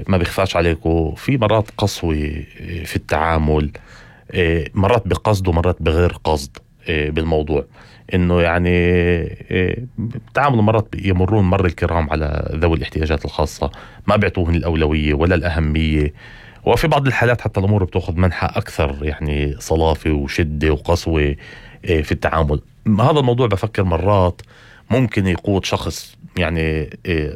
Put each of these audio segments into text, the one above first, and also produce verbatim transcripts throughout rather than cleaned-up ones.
ما بيخفاش عليكم في مرات قسوة في التعامل، مرات بقصد ومرات بغير قصد بالموضوع، انه يعني تعامل مرات يمرون مر الكرام على ذوي الاحتياجات الخاصة، ما بيعطوهن الأولوية ولا الأهمية، وفي بعض الحالات حتى الأمور بتأخذ منحى أكثر يعني صلافة وشدة وقسوة في التعامل. هذا الموضوع بفكر مرات ممكن يقود شخص يعني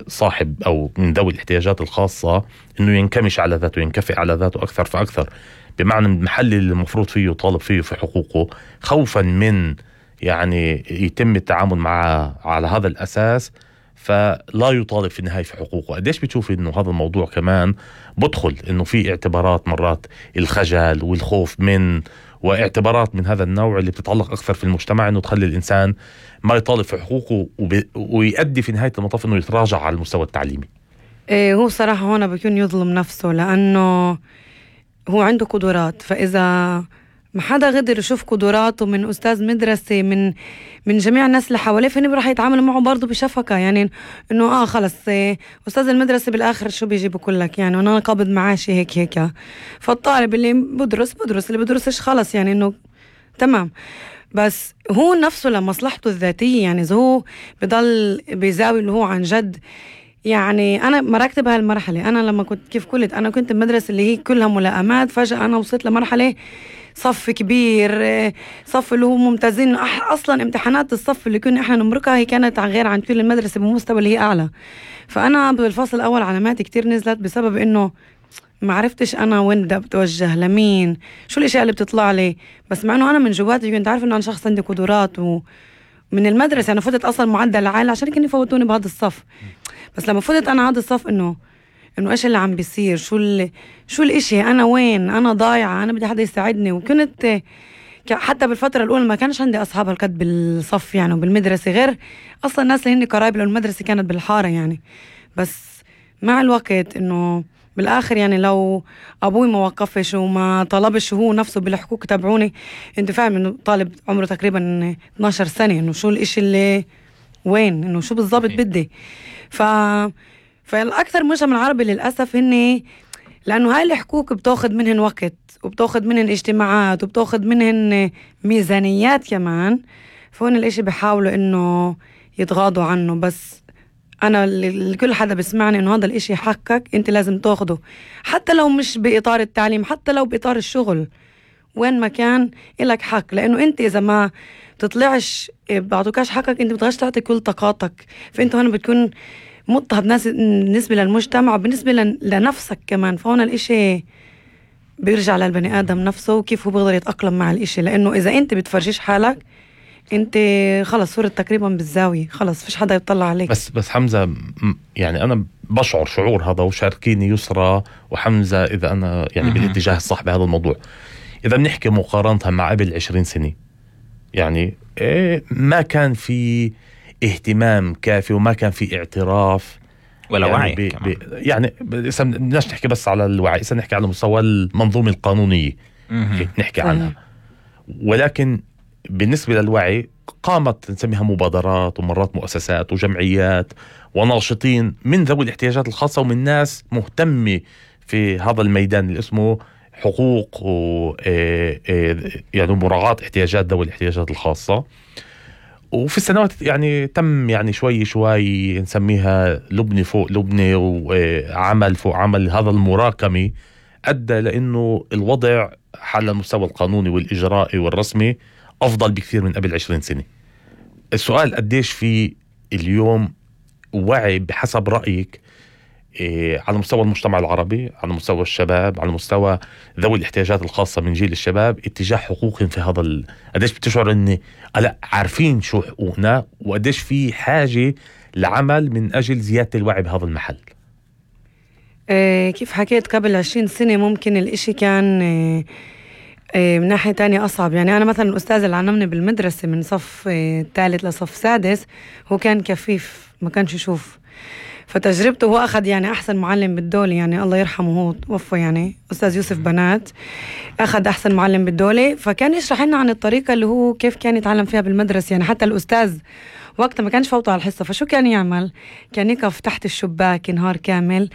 صاحب أو من ذوي الاحتياجات الخاصة إنه ينكمش على ذاته، ينكفئ على ذاته أكثر فأكثر، بمعنى المحل اللي المفروض فيه طالب فيه في حقوقه، خوفا من يعني يتم التعامل معه على هذا الأساس فلا يطالب في النهاية في حقوقه. قديش بتشوف إنه هذا الموضوع كمان بدخل إنه في اعتبارات مرات الخجل والخوف من واعتبارات من هذا النوع اللي بتتعلق أكثر في المجتمع، إنه تخلي الإنسان ما يطالب في حقوقه وب... ويؤدي في نهاية المطاف إنه يتراجع على المستوى التعليمي. إيه هو صراحة هنا بيكون يظلم نفسه، لأنه هو عنده قدرات، فإذا ما حدا قدر يشوف قدراته من أستاذ مدرسة من من جميع الناس اللي حواليه، فإنه راح يتعامل معه برضه بشفقة، يعني إنه آه خلص إيه أستاذ المدرسة بالآخر شو بيجي بقولك يعني، وأنا قابض معاشي هيك هيك، فالطالب اللي بدرس بدرس اللي بدرسش خلص يعني إنه تمام. بس هو نفسه لمصلحته الذاتية، يعني إذا هو بضل بيزاوي اللي هو عن جد، يعني أنا مركت بهالمرحلة. أنا لما كنت كيف قلت أنا كنت بمدرسة اللي هي كلها ملائمات، فجأة أنا وصلت لمرحلة صف كبير، صف اللي هو ممتازين، أصلا امتحانات الصف اللي كنا إحنا نمركها هي كانت عن غير عن كل المدرسة بمستوى اللي هي أعلى. فأنا بالفصل الأول علاماتي كتير نزلت بسبب إنه ما عرفتش أنا وين بدي أتوجه لمين، شو الأشياء اللي بتطلع لي، بس مع إنه أنا من جواتي كنت عارف إنه أنا شخص عندي قدرات. ومن المدرسة أنا فتت أصلا معدل عالي عشان كانوا يفوتوني بهذا الصف، بس لما فتت أنا هذا الصف إنه إنه إيش اللي عم بيصير، شو اللي شو الإشي، أنا وين، أنا ضايعة، أنا بدي حدا يساعدني. وكنت حتى بالفترة الأولى ما كانش عندي أصحاب هالقد بالصف يعني وبالمدرسة، غير أصلا الناس اللي هن قرايب، لأن المدرسة كانت بالحارة يعني. بس مع الوقت إنه بالآخر يعني لو أبوي ما وقفش وما طلبش هو نفسه بالحقوق تبعوني، أنت فاهم إنه طالب عمره تقريبا اثناشر سنة، إنه شو الإشي اللي وين، إنه شو بالضبط بدي. ف فالأكثر مجتمع العربي للأسف هني، لأنه هاي الحقوق بتاخد منهن وقت وبتاخد منهن اجتماعات وبتاخد منهن ميزانيات كمان، فهون الإشي بيحاولوا إنه يتغاضوا عنه. بس أنا لكل حدا بسمعني إنه هذا الإشي حقك، أنت لازم تاخده، حتى لو مش بإطار التعليم، حتى لو بإطار الشغل، وين ما كان إلك حق، لأنه أنت إذا ما تطلعش بعطوكاش حقك أنت بتغش تعطي كل طاقاتك، فأنت هون بتكون مضطهد ناس بالنسبة للمجتمع وبالنسبة لنفسك كمان. فهون الإشي بيرجع للبني آدم نفسه وكيف هو بيقدر يتأقلم مع الإشي، لأنه إذا أنت بتفرجيش حالك أنت خلص صورت تقريبا بالزاوية، خلص فيش حدا يطلع عليك. بس بس حمزة يعني أنا بشعر شعور هذا، وشاركيني يسرى وحمزة إذا أنا يعني بالاتجاه الصح بهذا الموضوع. إذا بنحكي مقارنتها مع قبل عشرين سنة، يعني إيه ما كان في اهتمام كافي وما كان في اعتراف ولا يعني وعي بي بي يعني بدناش نحكي بس على الوعي، إذا نحكي على مستوى المنظومة القانونية نحكي عنها. ولكن بالنسبة للوعي قامت نسميها مبادرات ومرات مؤسسات وجمعيات وناشطين من ذوي الاحتياجات الخاصة ومن ناس مهتمة في هذا الميدان اللي اسمه حقوق و يعني مراعاة احتياجات ذوي الاحتياجات الخاصة. وفي السنوات يعني تم يعني شوي شوي نسميها لبنة فوق لبنة وعمل فوق عمل، هذا المراكمي أدى لأنه الوضع على المستوى القانوني والإجرائي والرسمي أفضل بكثير من قبل عشرين سنة. السؤال قديش في اليوم وعي بحسب رأيك إيه على مستوى المجتمع العربي، على مستوى الشباب، على مستوى ذوي الاحتياجات الخاصة من جيل الشباب اتجاه حقوقهم في هذا ال... قديش بتشعر اني لا عارفين شو حقوقنا، وقديش في حاجة لعمل من أجل زيادة الوعي بهذا المحل؟ إيه كيف حكيت قبل عشرين سنة ممكن الاشي كان إيه إيه من ناحية تانية أصعب. يعني أنا مثلا الأستاذ اللي علمني بالمدرسة من صف إيه ثالث لصف سادس هو كان كفيف ما كانش يشوف، فتجربته هو أخذ يعني أحسن معلم بالدولة، يعني الله يرحمه هو توفى يعني أستاذ يوسف بنات، أخذ أحسن معلم بالدولة، فكان يشرح لنا عن الطريقة اللي هو كيف كان يتعلم فيها بالمدرسة. يعني حتى الأستاذ وقتها ما كانش فوته على الحصة، فشو كان يعمل؟ كان يقف تحت الشباك نهار كامل